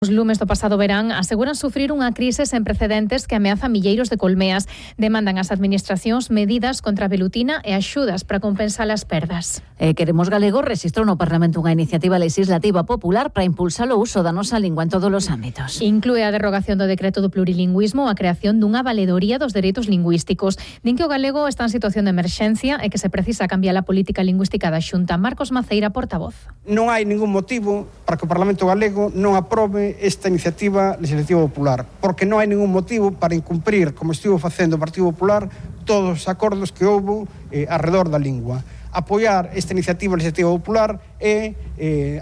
Os lumes do pasado verán aseguran sufrir unha crise sen precedentes que ameaza milleiros de colmeas. Demandan ás administracións medidas contra a velutina e axudas para compensar as perdas. Queremos Galego rexistrou no Parlamento unha iniciativa legislativa popular para impulsar o uso da nosa lingua en todos os ámbitos. Inclúe a derrogación do decreto do plurilingüismo a creación dunha valedoría dos dereitos lingüísticos. Din que o galego está en situación de emerxencia e que se precisa cambiar a política lingüística da Xunta. Marcos Maceira, portavoz. Non hai ningún motivo para que o Parlamento galego non aprobe esta iniciativa legislativa popular, porque non hai ningún motivo para incumprir, como estivo facendo o Partido Popular, todos os acordos que houbo arredor da lingua. Apoiar esta iniciativa legislativa popular e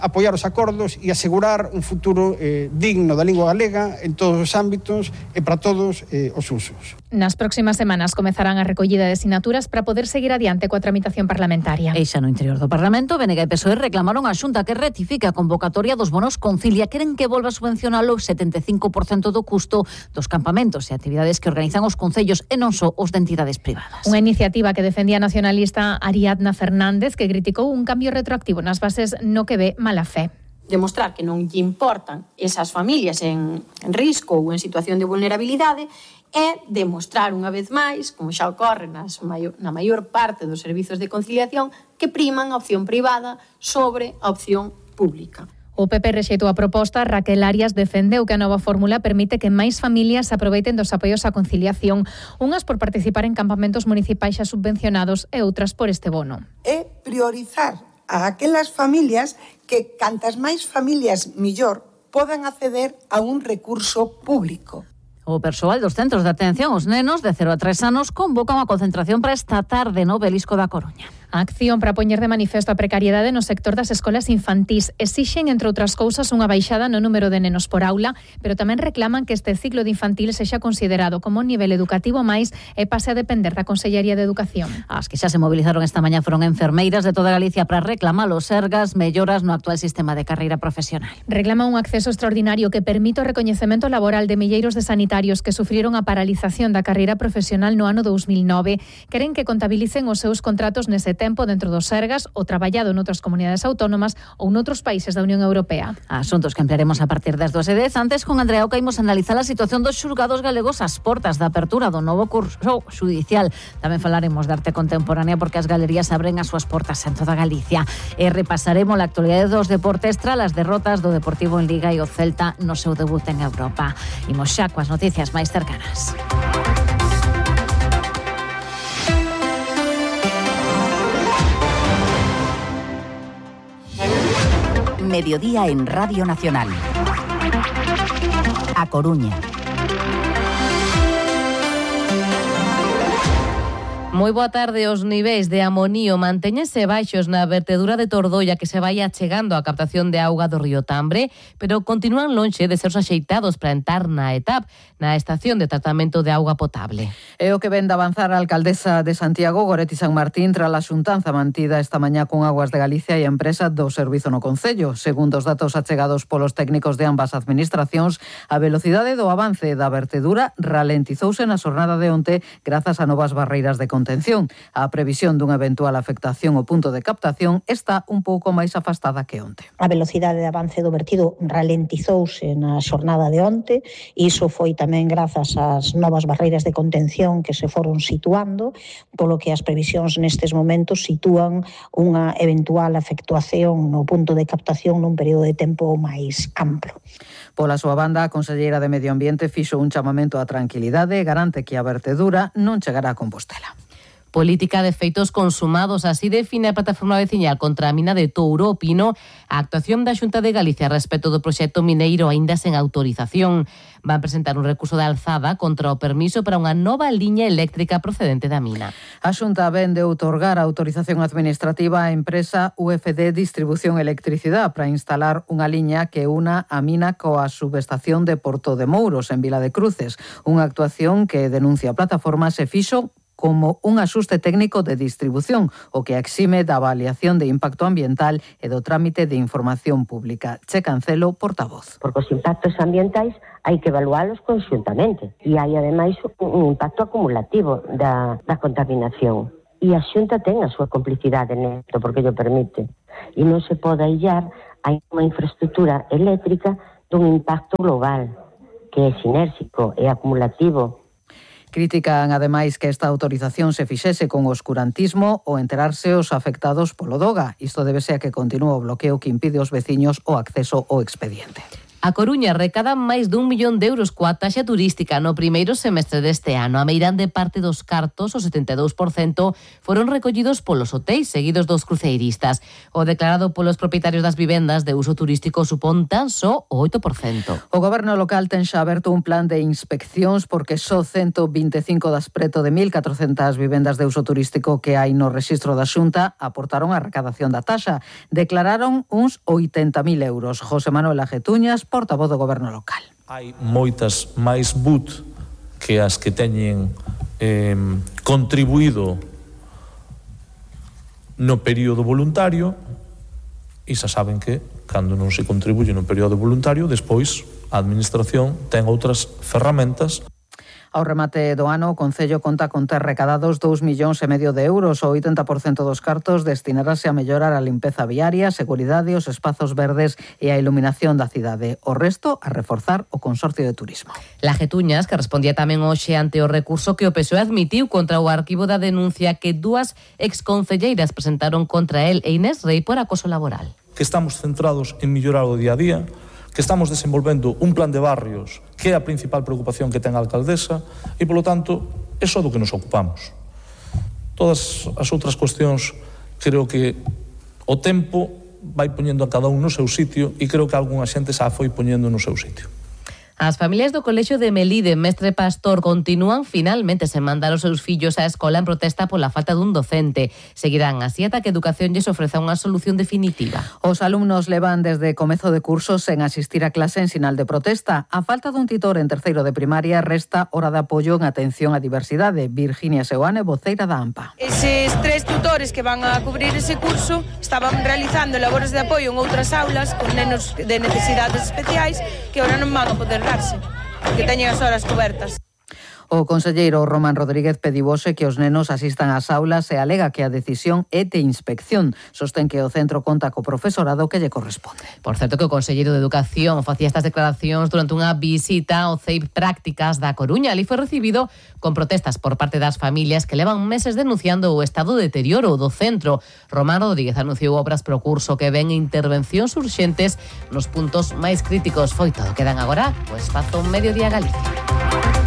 apoiar os acordos e asegurar un futuro digno da lingua galega en todos os ámbitos e para todos os usos. Nas próximas semanas comezarán a recollida de sinaturas para poder seguir adiante coa tramitación parlamentaria. E xa no interior do Parlamento, BNG e PSOE reclamaron a Xunta que rectifique a convocatoria dos bonos Concilia. Queren que volva a subvencionar o 75% do custo dos campamentos e actividades que organizan os concellos e non só os de entidades privadas. Unha iniciativa que defendía a nacionalista Ariadna Fernández, que criticou un cambio retroactivo nas bases no que ve mala fe. Demostrar que non lle importan esas familias en risco ou en situación de vulnerabilidade e demostrar unha vez máis, como xa ocorre na maior parte dos servizos de conciliación, que priman a opción privada sobre a opción pública. O PP rexeitou a proposta. Raquel Arias defendeu que a nova fórmula permite que máis familias aproveiten dos apoios á conciliación, unhas por participar en campamentos municipais xa subvencionados e outras por este bono. É priorizar a aquelas familias que, cantas máis familias millor, podan acceder a un recurso público. O persoal dos centros de atención aos nenos de 0 a 3 anos convoca unha concentración para esta tarde no Obelisco da Coruña. A acción para poñer de manifesto a precariedade no sector das escolas infantís. Exixen, entre outras cousas, unha baixada no número de nenos por aula, pero tamén reclaman que este ciclo de infantil sexa considerado como un nivel educativo máis e pase a depender da Consellería de Educación. As que xa se movilizaron esta mañá foron enfermeiras de toda Galicia para reclamar os sergas melloras no actual sistema de carreira profesional. Reclama un acceso extraordinario que permite o recoñecemento laboral de milleiros de sanitarios que sufriron a paralización da carreira profesional no ano 2009. Queren que contabilicen os seus contratos nese tempo dentro dos sergas o traballado noutras comunidades autónomas ou noutros países da Unión Europea. Asuntos que ampliaremos a partir das 2:10. Antes, con Andrea Oca, imos analizar a situación dos xulgados galegos ás portas da apertura do novo curso xudicial. Tamén falaremos de arte contemporánea porque as galerías abren as súas portas en toda Galicia. E repasaremos a actualidade dos deportes tras as derrotas do Deportivo en Liga e o Celta no seu debut en Europa. Imos xa coas noticias máis cercanas. Mediodía en Radio Nacional. A Coruña. Moi boa tarde. Os niveis de amonío mantéñense baixos na vertedura de Tordoia que se vai achegando á captación de auga do río Tambre, pero continúan lonxe de ser axeitados para entrar na ETAP, na estación de tratamento de auga potable. É o que vende avanzar a alcaldesa de Santiago, Goretti San Martín, tras a xuntanza mantida esta mañá con Aguas de Galicia e a empresa do servizo no concello. Segundo os datos achegados polos técnicos de ambas administracións, a velocidade do avance da vertedura ralentizouse na xornada de onte grazas a novas barreiras de contención. A previsión dunha eventual afectación ao punto de captación está un pouco máis afastada que onte. A velocidade de avance do vertido ralentizouse na xornada de onte e iso foi tamén grazas ás novas barreiras de contención que se foron situando, polo que as previsións nestes momentos sitúan unha eventual afectuación no punto de captación nun período de tempo máis amplo. Pola súa banda, a conselleira de Medio Ambiente fixo un chamamento á tranquilidade e garante que a vertedura non chegará a Compostela. Política de feitos consumados, así define a plataforma veciñal contra a mina de Touro Pino a actuación da Xunta de Galicia respecto do proxecto mineiro aínda sen autorización. Van presentar un recurso de alzada contra o permiso para unha nova liña eléctrica procedente da mina. A Xunta ven de outorgar a autorización administrativa á empresa UFD Distribución Electricidade para instalar unha liña que una a mina coa subestación de Porto de Mouros en Vila de Cruces, unha actuación que denuncia a plataforma se fixo como un axuste técnico de distribución, o que exime da avaliación de impacto ambiental e do trámite de información pública. Che Cancelo, portavoz. Porque os impactos ambientais hai que evalualos conxuntamente e hai ademais un impacto acumulativo da contaminación. E a Xunta ten a súa complicidade nesto porque llo permite. E non se pode aillar a unha infraestructura eléctrica dun impacto global que é sinérxico e acumulativo. Critican, ademais, que esta autorización se fixese con oscurantismo ou enterarse os afectados polo DOGA. Isto débese a que continúa o bloqueo que impide aos veciños o acceso ao expediente. A Coruña recada máis d'1 millón de euros coa taxa turística no primeiro semestre deste ano. A meirande parte dos cartos, o 72%, foron recollidos polos hotéis seguidos dos cruceiristas. O declarado polos propietarios das vivendas de uso turístico supón tan só o 8%. O goberno local ten xa aberto un plan de inspeccións porque só 125 das preto de 1.400 vivendas de uso turístico que hai no rexistro da Xunta aportaron a recadación da taxa. Declararon uns 80.000 euros. José Manuel Ajetuñas, portavoz do goberno local. Hai moitas máis BUT que as que teñen contribuído no período voluntario e xa saben que cando non se contribuye no período voluntario, despois a administración ten outras ferramentas. Ao remate do ano, o Concello conta con ter recadados 2,5 millóns de euros. O 80% dos cartos destinarase a mellorar a limpeza viaria, seguridade, os espazos verdes e a iluminación da cidade. O resto a reforzar o Consorcio de Turismo. Lajetuñas, que respondía tamén hoxe ante o recurso que o PSOE admitiu contra o arquivo da denuncia que dúas exconcelleiras presentaron contra el e Inés Rei por acoso laboral. Que estamos centrados en mellorar o día a día, que estamos desenvolvendo un plan de barrios que é a principal preocupación que ten a alcaldesa e, polo tanto, é só do que nos ocupamos. Todas as outras cuestións creo que o tempo vai poñendo a cada un no seu sitio e creo que algunha xente xa foi poñendo no seu sitio. As familias do Colexio de Melide, Mestre Pastor, continúan finalmente sen mandar os seus fillos á escola en protesta pola falta dun docente. Seguirán así ata que Educación lles ofreza unha solución definitiva. Os alumnos levan desde comezo de curso sen asistir a clase en sinal de protesta. A falta dun titor en terceiro de primaria resta hora de apoio en atención á diversidade. Virginia Seoane, voceira da AMPA. Eses 3 tutores que van a cubrir ese curso estaban realizando labores de apoio en outras aulas con nenos de necesidades especiais que ahora non van a poder que teñen as horas cobertas. O conselleiro Román Rodríguez pedibose que os nenos asistan ás aulas e alega que a decisión é de inspección. Sostén que o centro conta co profesorado que lle corresponde. Por certo que o conselleiro de Educación facía estas declaracións durante unha visita ao CEIP Prácticas da Coruña. Ali foi recibido con protestas por parte das familias que levan meses denunciando o estado de deterioro do centro. Román Rodríguez anunciou obras pro curso que ven intervencións urxentes nos puntos máis críticos. Foi todo. Quedan agora o espazo Mediodía Galicia.